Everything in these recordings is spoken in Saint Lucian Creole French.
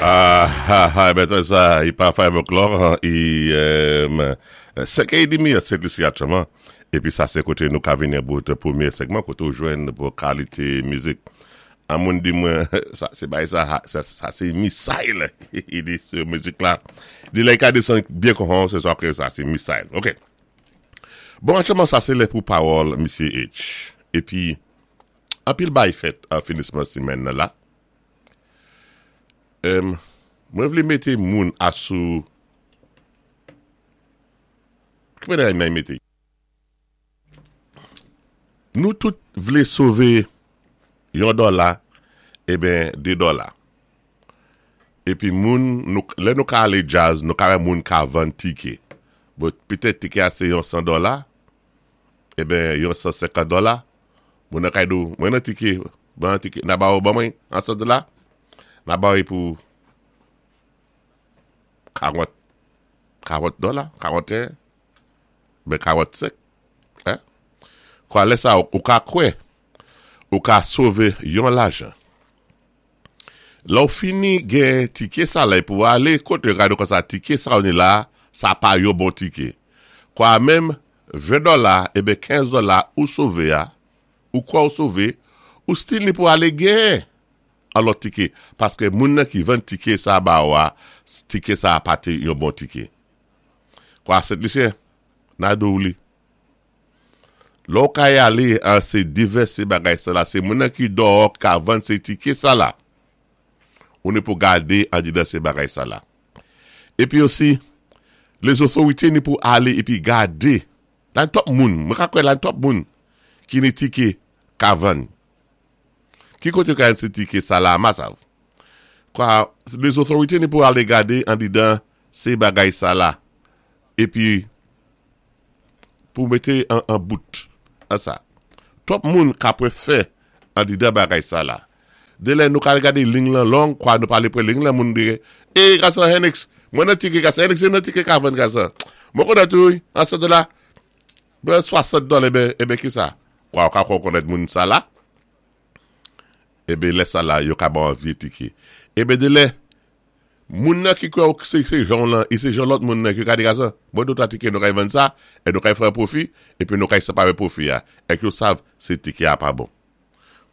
Ah, bèt sa, i pa 5 o'clock, i 5 è demi a Sent Lisi aktyèlman. Épi sa sé koté nou ka vini bout pwémyé segman koté ou jwenn pou kalité mizik. An moun di mwen, sa sé bay sa, sa sé missile, i di sé mizik la. Di lè i ka désann byen konhon, sé sa ké sa sé missile. Ok. Bon, aktyèlman sa sé lè pou pawòl Misyé H. Épi, anpil bay fèt an finisman simèn nan la. Mwen vlé mété moun asou ki bagay nan mété? Nou tout vlé sové yon dòla eben 2 dòla. Épi moun nou lè nou ka alé djaz nou ka wè moun ka vann tiké. Bon petèt tiké a sé yon 100 dòla eben yon 150 dòla. Moun nan ka di w mwen nan tike ban an tike na ba ou ban mwen an 100 dola na ba ou pou 40 40 dola 41 ben 45 hein kwa lè sa ou ka kwè ou ka sove yon lajan lè ou fini gen tike sa lè pou ale kote yo gade konsa tike sa ou ni la sa pa yon bon tike kwa menm 20 dola eben 15 dola ou sove a ou kwè ou sove ou stil ni pou ale gen an lòt tike paske moun nan ki vann tike sa ba ou a tike sa pa te yon bon tike kwa Sent Lisyen na di w li lè w kay ale an se divèse bagay sa la se moun nan ki dòò ki ka vann se tike sa la ou ni pou gade andidan se bagay sa la. Epi osi, lezotorite ni pou ale epi gade, la ni twòp moun, mwen ka kwè la ni twòp moun ki ni tike ka vann. Ki kote yo ka jwenn se tike sa la ma sav? Kwa, lezotorite ni pou ale gade andidan se bagay sa la. Epi, pou mete an bout an sa. Twòp moun ka pwe fè andidan bagay sa la. De lè nou ka al gade ling lan long kwa nou pale pre ling lan moun di e gason Henix mwen nan tike gason Henix se nan tike ka vann gason mwen konnen tou wi an 100 dola ben 60 dola eben eben kisa kwa ou ka kwè ou konnen moun sa la eben lè sa la yo ka ba w an vye tike eben de lè moun nan ki kwè ou se se jan w lan e se jan lòt moun nan ki ka di gason mwen do 3 tike nou kay vann sa e nou kay fè pwofi epi nou kay separe pwofi a èk yo sav se tike a pa bon.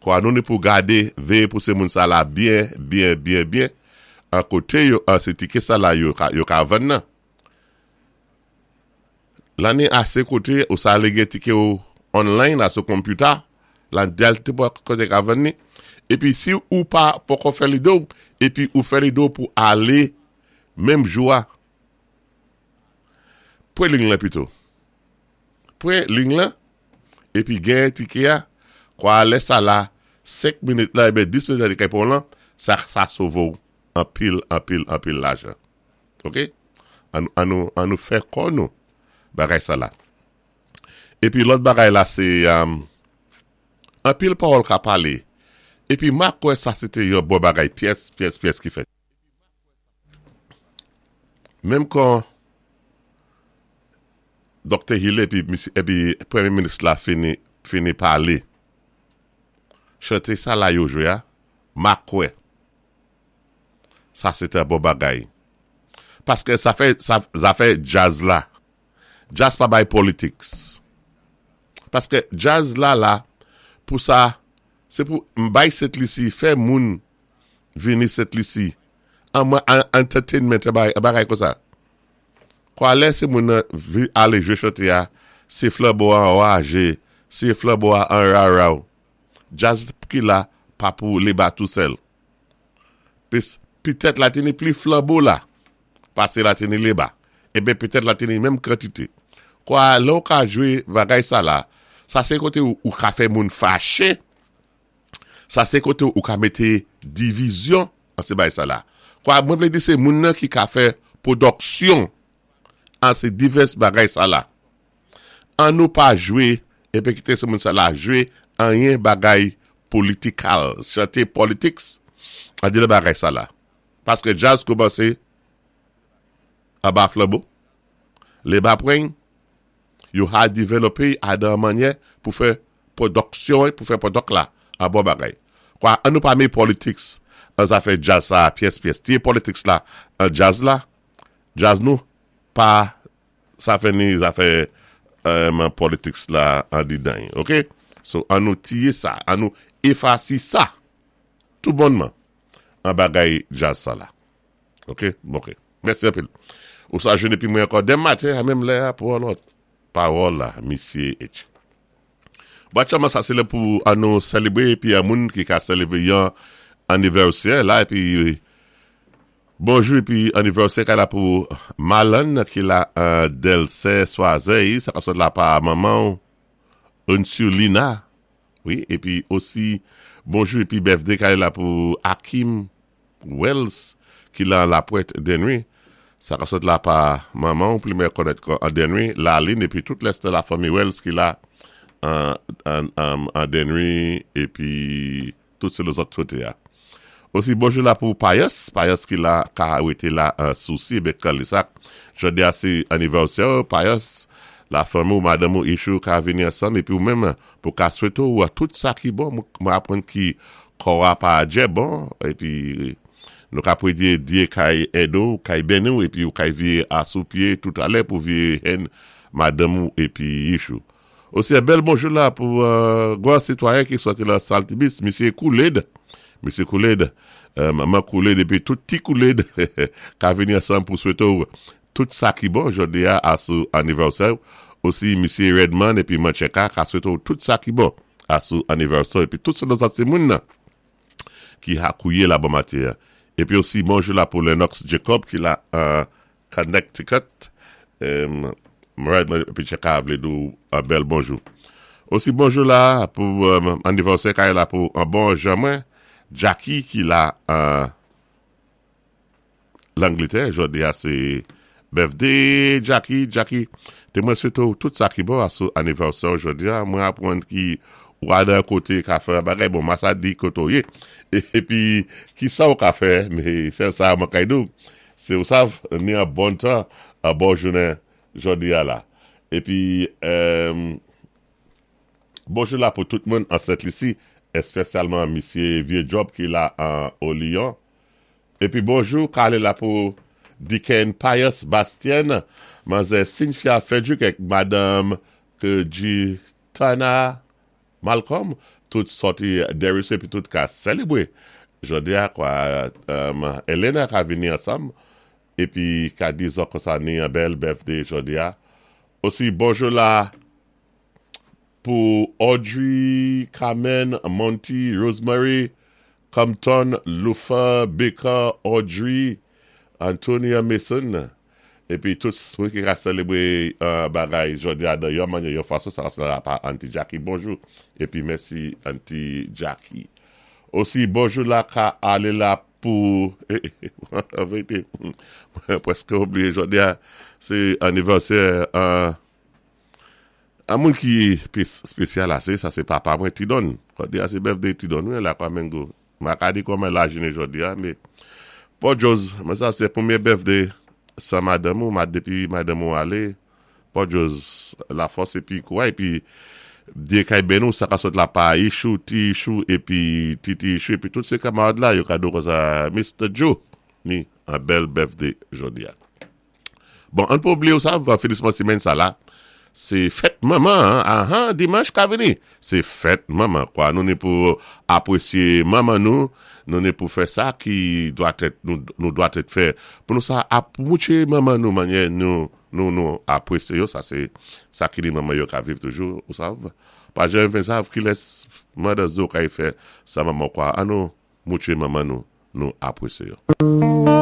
Kwa nou ni pou gade, véyé pou sé moun sa la byen, byen, byen, byen, an koté yo, an sé tiké sa la yo ka, yo ka vann nan. Lan ni asé koté ou sa alé gen tiké ou online la sou konpita, lan dèl ti bò koté ka vann ni. Épi si ou pa poko fè lide ou, épi ou fè lide ou pou alé menm jou a, pran ling lan pito. Pran ling lan, epi genyen tike a, kwa lè sa la, 5 minit la eben 10 minit la li kay pran w lan, sa sa sove w anpil, anpil, anpil lajan. Ok? An an nou an nou fè kò nou bagay sa la. Epi lòt bagay la se anpil pawòl ka pale, epi ma kwè sa se te yon bon bagay pyès, pyès, pyès ki fèt. Menm kan Doktè Hill epi misye epi premye minis la fini fini pale chante sa la yo jwe a ma kwè sa se te bon bagay paske sa fè sa zafè djaz la djaz pa bay politics paske djaz la la pou sa se pou m bay Sent Lisi fè moun vini Sent Lisi an mwen entertainment bagay konsa. Kwa lè se moun nan vi ale jwe chante a se flanbo a anraje se flanbo a anraraw djaz ki la pa pou leba tou sèl pis pitèt la te ni pli flanbo la pase la te ni leba eben petèt la te ni menm kantite kwa lè ou ka jwe bagay sa la sa se kote ou ka fè moun fache. Sa se kote ou ka mete divizyon an se bay sa la. Kwa mwen vle di se moun nan ki ka fè pwodòksyon an se divès bagay sa la. An nou pa jwe epi kite se moun sa la jwe anyen bagay politikal, chante politics an di bagay sa la. Paske djaz koumanse anba flanbo, leba pweny, yo ha develope a dan manyè pou fè Pwodòksyon pou fè pwodòk la an bon bagay. Kwa an nou pa me politics. An zafè djaz sa pyès pyès. Tiyé politics la an djaz la, djaz nou pa sa fè ni zafè politics la andidan. Ok? So an nou tiyé sa, an nou éfasé sa tou bonnman an bagay djaz sa la. Ok? Ok. Mèsi anpil. Ou sa jwenn épi mwen ankò denmen maten a menm lè a pou an lòt pawòl la, Misye H. Bon, aktyèlman sa sé lè pou an nou sèlébré épi an moun ki ka sèlébré yon anivèsè la épi bonjou épi anivèsè ka la pou Malan ki la an Delsè Swazey, sa ka sot la pa manman Unsulina, wi, épi osi bonjou épi birthday ka la pou Akim Wells ki la La Pointe Denry, sa ka sot la pa manman ou pli mè konnèt an Denry, Laline épi tout lès la fanmi Wells ki la an Denry épi tout sé lòt koté a. Osi bonjou la pou Payas, Payas ki la ka wété la an Sousi ben Kalisak. Jodi a sé anivèsè Payas, la fanmi ou madanm ou Ichou ka vini ansanm épi ou menm pou ka swété ou tout sa ki bon, mwen aprann ki kò a pa djè bon épi nou ka pwédyé Dyé kay èd ou, kay béni ou épi ou kay viyé a sou pyé tout alè pou viyé henn madanm ou épi Ichou. Osi yon bèl bonjou la pou gwan sitwayen ki sòti lan Saltibis, Misye Kouled, Misye Kouled, manman Kouled épi tout ti Kouled ka vini ansanm pou swété ou tout sa ki bon jodi a a sou anivèsè ou. Osi Misye Redman épi Mancheka ka swété ou tout sa ki bon a sou anivèsè ou épi tout sé lòt ti moun nan ki ha kouyé la bon maten an. Épi osi bonjou la pou Lennox Jacob ki la an Connecticut. Mwen épi Cheka vlé di ou an bèl bonjou. Osi bonjou la pou anivèsè kay la pou an bon jan mwen, Jackie ki la an Langletè, jodi a sé birthday Jackie, Jackie, té mwen swété ou tout sa ki bon a sou anivèsè ou jodi a, mwen aprann ki ou al nan koté ka fè an bagay, bon ma sa di koté ou yé, épi ki sa ou ka fè, mé sèl sa mwen kay di ou, sé ou sav ni an bon tan, an bon jounen jodi a la. Épi bonjou la pou tout moun an Sent Lisi, èspèsyalman misye Vye Job ki la an Oliyon. Épi bonjou kale la pou Deacon Pius Bastien, manzè Cynthia Frederick ak madanm Tana Malcolm, tout sòti Desruisseaux épi tout ka sèlébré jodi a kwa Elena ka vini ansanm épi ka di zòt konsa ni an bèl birthday jodi a. Osi bonjou la pou Audrey, Carmen, Monty, Rosemary, Compton, Lufa, Baker, Audrey, Antonia Mason, épi tout moun ki ka sèlébré bagay jodi a dan yon manyè yon fason, sa ka la pa Auntie Jackie, bonjou, épi mèsi Auntie Jackie. Osi bonjou la ka alé la pou, an vérité, mwen prèské oubliyé jodi a, sé anivèsè an moun ki spésyal asé, sa sé papa mwen Tidon, jodi a sé birthday Tidon wi la kwa Mengo, ma ka di kòman la jounen jodi a, mé Paul Joes, mwen sa sé pwémyé birthday san madanm ou, ma dépi madanm ou alé, Paul Joes la fòs épi kouray épi Dyé kay béni ou sa ka sot la pa Ichou, ti Ichou épi titi Ichou épi tout sé kamarad la yo ka di ou konsa Mr Joe ni an bèl birthday jodi a. Bon, an pa oubliyé ou sa, finisman simèn sa la, sé fèt manman, ahan, dimanch ka vini, sé fèt manman, kwa nou ni pou apwésyé manman nou, nou ni pou fè sa ki dwa tèt, nou dwa tèt fè, pou nou sa ap moutché manman nou manyè nou, nou, nou apwésyé yo, sa sé sa ki ni manman yo ka viv toujou, ou sav, pa janm vin sav kilès Mother's Day ou kay fè san manman kwa, an nou moutché manman nou, nou apwésyé yo.